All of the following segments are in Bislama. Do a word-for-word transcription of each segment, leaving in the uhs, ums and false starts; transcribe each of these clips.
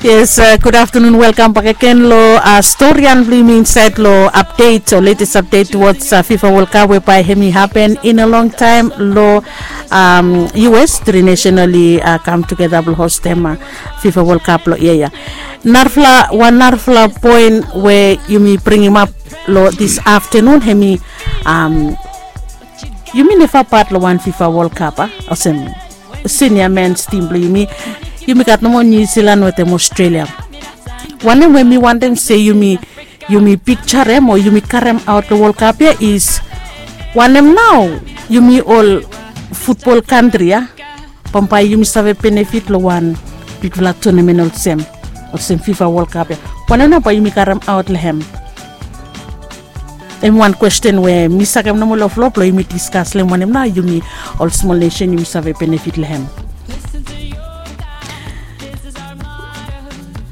Yes, gud aftanun, welkam bak agen lo storian blong yumi insaed lo apdet o letes apdet towards fifa wol kap we bae hem i hapen in a long taem lo us tri nesen oli kam tugeta blong hostem fifa wol kap lo yia ya. Narafala wan narafala poen we yumi bringim ap lo dis aftanun hem i yumi neva pat lo wan fifa wol kap a olsem sinia mens tim blong yumi. Yumi gat nomo niu silan wetem aostralia. Wanem we mi wantem se yumi yumi pikjarem o yumi karemaot long wolkap ya is wanem nao yumi ol futbol kantri ya bambae yumi save benefit long wan bigfala tunamen olsem olsem fifa wolkap ya. Wanem nao bae yumi karemaot long hem? Em wan kwesten we mi sakem nomo long flo blong yumi diskas long hem wanem nao yumi ol smol nesen yumi save benefit long hem.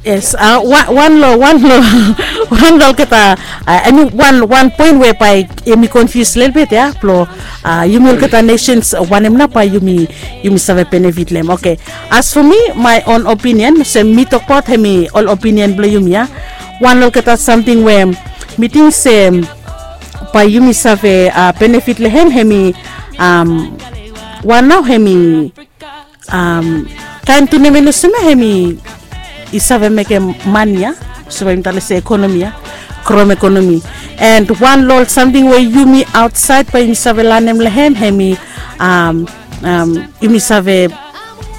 Yes, wan long wan long wan long olgeta em i wan wan poen we bae em i konfius lelebet ya blong yumi olgeta nesens wanem nao bae yumi yumi save benefit long hem. Oke, as fo mi mae on opinion olsem mi tokbaot hem i ol opinion blong yumi ya. Wan long olgeta samting we mi ting se bae yumi save benefit long hem hem i wan nao hem i kaen tunamen olsem ya hem i save mekem mani ya. So bae yumi talem se ekonomi ya, krom ekonomi. And wan long ol samting we yumi aotsaed bae yumi save lanem long hem hem i yumi save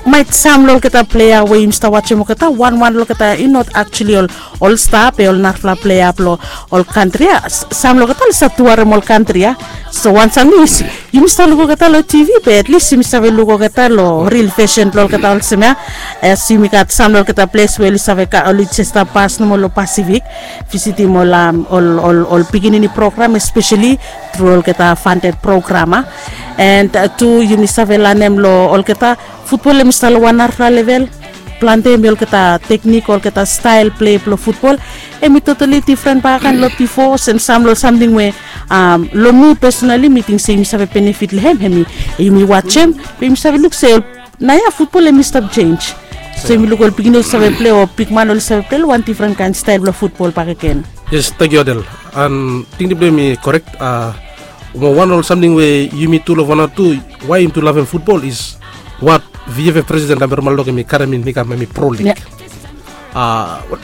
maet sam long olgeta plea we yumi stap wajem olgeta wan wan long olgeta i not aktuali ol ol sta be ol narafala plea blong ol kantri ya. Sam long olgeta oli stap tuarem ol kantri ya. So wan samting is yumi stap luk olgeta long tv be at least yumi save luk olgeta long ril fesen blong olgeta olsem ya. As yumi gat sam long olgeta ples we oli save oli jes stap pas nomo long pasifik visitim ol ol ol pikinini program espeseli tru olgeta fandet program a. And tu yumi save lanem long olgeta futbol em i stap long wan narafala level. Plante em i olgeta teknik olgeta stael plei blong futbol em i totali difren bakaen long bifo olsem sam long samting we long mi pesonali mi ting se yumi save benefit long hem hem i yumi wajem be yumi save luk se naoia futbol em i stap jenj. So yumi luk ol pikinini oli save plei o bigman oli save plei long wan difren kaen stael blong futbol bakegen. Yes, tangkiu adel. An tingting blong yumi korek. Mo wan ol samting we yumi tu long vanatu wae yumi tu lavem futbol is wat vieve presiden namber malok em i karem in i kam em i pro lig.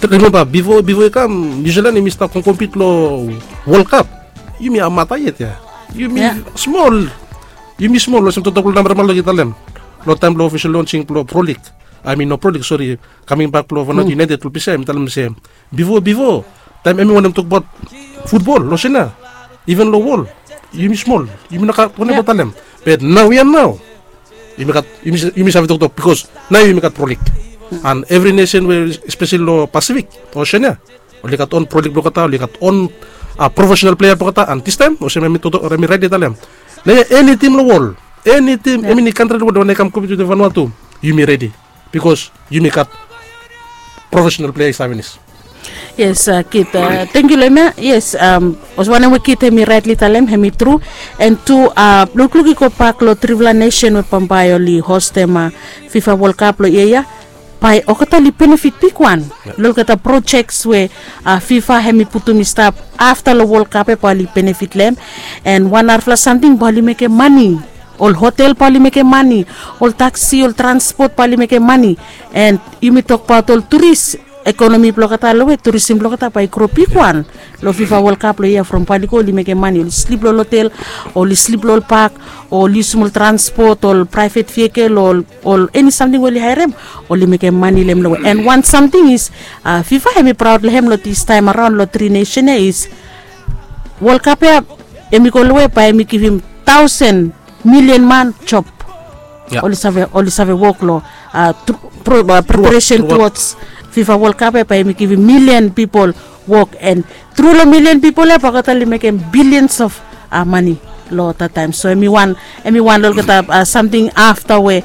Rimemba bifo bifo i kam niusilan em i stap komkompit long wol kap. Yumi amata yet ya. Yumi smol. Yumi smol olsem toktok blong namber malok i talem long taem blong ofisel lonsing blong pro lig. Ai min no pro lig sori. Kaming bak blong vanatu united blong pisa em i talem olsem bifo bifo taem em i wanem tokbaot futbol long sena iven long wol yumi smol. Yumi no gat wanem blong talem. Be naoia nao yumi gat yumi save toktok bikos nao yumi gat prolik an evri nesen we espeseli long pasifik osen ya oli gat on prolik blong olgeta oli gat on profesenal plea blong olgeta an distaem olsem em i toktok em i raet i talem naoia eni tim long wol eni tim em i ni kantri long wol i kam kompit wetem vanua tu yumi redi. Bikos yumi gat profesenal plea i stap finis. Yes kit. Tangkiu long em ya. Yes, olsem wanem we kit hem i raetli talem hem i tru. An tu lukluk i gobak long trifala nesen we bambae oli hostem fifa wolkap long yia ya, bae olgeta oli benefit bigwan long olgeta projeks we fifa hem i putum i stap afta long wolkap ya bae oli benefit long hem. An wan narafala samting bae oli mekem mani. Ol hotel bae oli mekem mani. Ol taksi ol transpot bae oli mekem mani. An yumi tokbaot ol turis ekonomi blong olgeta long we turisim blong olgeta bae i gro bigwan long fifa wolkap long yia from bae oli go oli mekem mani oli slip long ol hotel, oli slip long ol pak, oli yusum ol transpot ol praevet vikel ol eni samting we oli haerem, oli mekem mani long hem long we an wan samting is fifa hem i praod long hem long distaem araon long tri nesen ya is wolkap ya hem i go long we bae hem i givim taosen milian man job. Oli save wok long preparesen tuods fifa wolkap ya bae hem i givim milian pipol wok an tru long milian pipol ya bae olgeta oli mekem bilians of mani. long tataem. So em i wan em i wan long olgeta samting afta we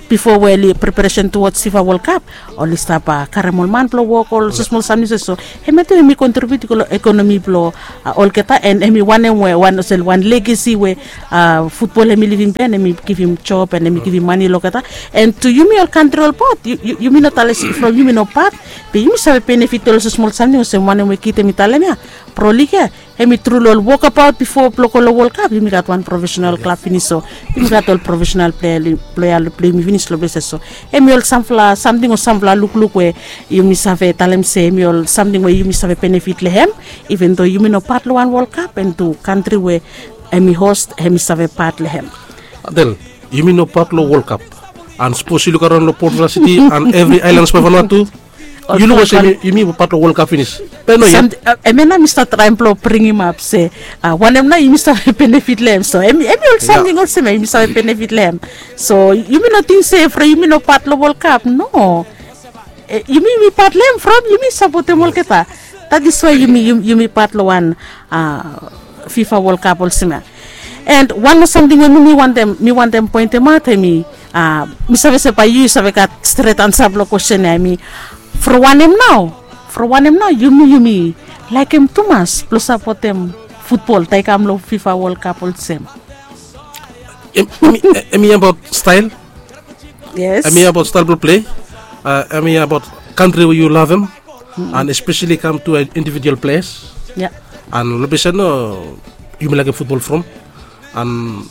bifo we oli preparesen tuwats fifa wol kap, oli stap karem ol man blong wok ol smosmol samting se so. Em ya tu em i kontribiut i go long ekonomi blong olgeta, en em i wanem we wan olsem wan legesi we futbol em i livim ben, em i givim job en em i givim mani long olgeta. En tu yumi ol kantri ol pat, yumi no talem se from yumi no pat, be yumi save benefit ol olsem smol samting olsem wanem we kit em i talem ya, pro lig ya, em i tru long ol wokabaot bifo blong go long wol kap yumi gat wan profesenal klab finis, so yumi gat ol profesenal plea blong ya long plei yumi finis long ples ya. So em i ol sampela samting o sampela lukluk we yumi save talem se em i ol samting we yumi save benefit long hem, iven do yumi no pat long wan wol kap en tu kantri we em i host em i save pat long hem. Del, yumi no pat long wol kap. An sapos yu luk araon long portugal siti an evri aelan spa vanua tu, yu luk olsem yumi pat long wol kap finis. Be no yet. Em ya nao mi stap traem blong bringim ap se wanem nao yumi save benefit long em. So em i ol samting olsem ya yumi save benefit long em. So yumi no ting se from yumi no pat long wol kap, no. Yumi yumi pat long em from yumi sapotem olgeta. That is why yumi yumi pat long wan fifa wol kap olsem ya. And wan moa samting we mi mi wantem mi wantem pointemaot em i mi save se bae yu save gat stret ansa blong kwesten ya em i from wanem nao from wanem nao yumi yumi laekem tumas blong sapotem futbol tae i kam long fifa wol kap olsem? Em i abaot stael. Em i abaot stael blong plei. Em i abaot kantri we yu lavem. An espeseli kam tu individual ples. An long ples ya nao yumi laekem futbol from. An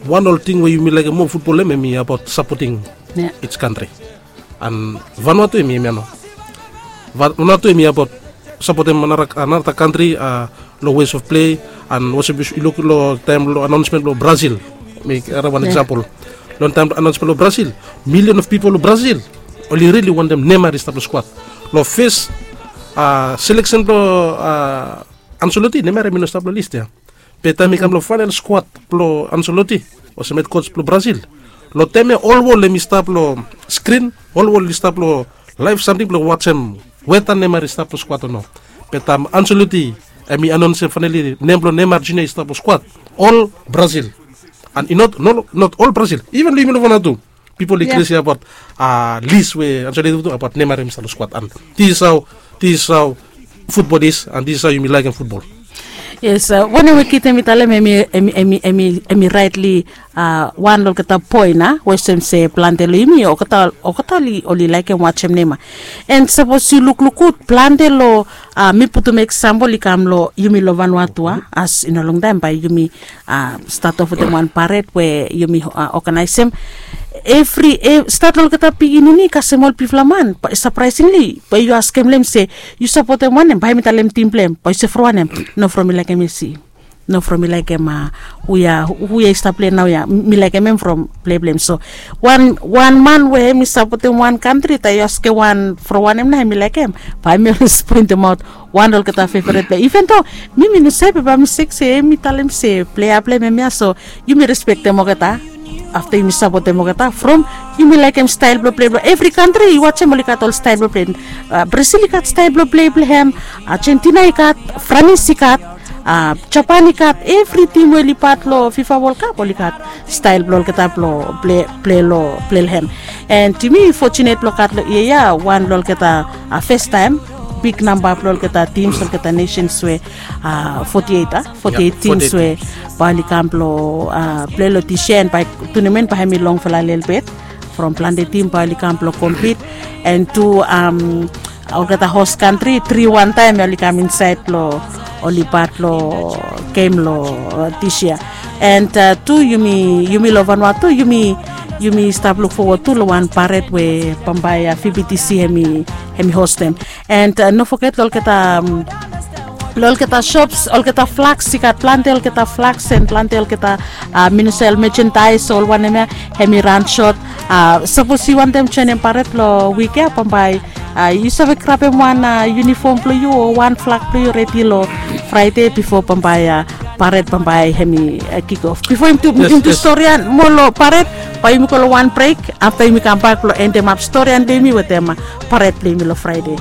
wan ol ting we yumi laekem moa futbol em em i abaot sapoting its kantri. An vanua tu em i em ya nao. Vanua tu em i abaot sapotem anarata kantri long ways of plei. An olsem yu luk long taem long anaunsmen blong brazil, mi karem wan eksampol. Long taem anaunsmen blong brazil, milion of pipol long brazil oli rili wantem nema i stap long skwat. Long fes seleksen blong ansoloti nema i no stap long list ya. Be taem i kam long faenal skwat blong ansoloti olsem hed kots blong brazil, long taem ya ol wol em i stap long skrin, ol wol i stap long laef samting blong wajem weta nema i stap long skwat o no. Be taem ansoloti em i anonsim faenali nem blong nema junior i stap long skwat, ol brazil. An i not ol brazil, iven long yumi long vanua tu, pipol i kresi abaot lis we ansoloti tu abaot nema i stap long skwat. An this is how this is how futbol is an this is how yumi laekem futbol. Yes, wanem we kit em i talem em i raetli wan long olgeta poen a we olsem se plante long yumi olgeta oli laekem wajem nema. And sapos yu lukluk gud plante long mi putum eksampol i kam long yumi long vanua tu a, as i no longtaem bae yumi stat of wetem wan paret we yumi oganaesem. Evri stat long olgeta pikinini kasem ol bifala man, sapraesingli bae yu askem long em se yu sapotem wanem, bae mi talem tim blong em bae yu se from wanem? No, from mi laekem esi. No, from mi laekem hu ya hu ya i stap plei naoia, mi laekem em from plei blong em. So wan wan man we em i sapotem wan kantri tae yu askem wan from wanem nao em i laekem, bae mi oles poentemaot wan long olgeta feveret plei. Iven do mi mi no save bae mi sek se em i talem se plei ya blong em em ya. So yumi respektem olgeta afta yumi sapotem olgeta from yumi laekem stael blong plei blong evri kantri. Yu wajem oli gat ol stael blong plei. Brazil i gat stael blong plei blong hem. Argentina i gat, franis i gat, japan i gat, evri tim we oli pat long fifa wol kap oli gat stael blong olgeta blong plei long plei long hem. And yumi fotunet blong gat long yia ya wan long olgeta festaem bik namba blong olgeta tims olgeta nesens we foti eit a foti eit tims we bae oli kam blong plei long dis yia. And bae tunemen bae hem i longfala lelebet from plante tim bae oli kam blong kompit. And tu olgeta hos kantri tri wan taem ya oli kam insaed long oli pat long gem long dis yia. And tu yumi yumi long vanua tu yumi yumi stap lukfowod tu long wan paret we bambae ya fibitisi hem i hostem. And no foget long olgeta long olgeta shops olgeta flags i gat plante olgeta flags and plante olgeta minisel mejendais ol wanem ya. Hem i ran sot. Sapos yu wantem joenem paret long wik ya bambae yu save grabem wan yunifom blong yu o wan flag blong yu redi long fraede bifo bambae paret bambae hem i kikof bifo yumi tu stori ya moa long paret. Bae yumi go long wan brek afta yumi kambak blong endemap stori ya blong yumi wetem paret blong yumi long fraede.